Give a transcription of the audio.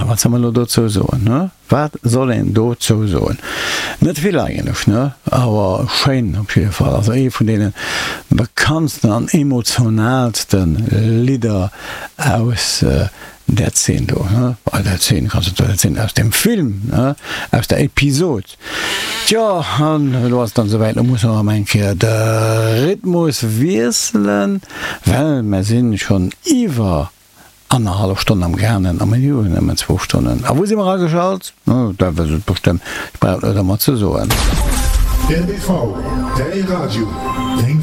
wat soll mer elo dozou soen, ne? Wat soll een dozou soen? Net vill eigentlech, ne? Awer schéin op jidde Fall. Also ee vun deene bekanntsten an emotionaalste Lidder aus där Zeen do, ne? Bei där Zeen, kanns du der Zeen aus dem Film, ne? Aus der Episod. Tjo, an elo ass et dann esouwäit, elo musse mer erëm eng Kéier de Rhythmus wiesselen, well mer sinn schonn iwwer annerhallef Stonn am gaangen a mir hu nëmmen zwou Stonnen. A wou si mer ageschalt? Dat wësst et bestëmmt, ech brauch et net ëmmer ze soen. Rdv, däi Radio, deng.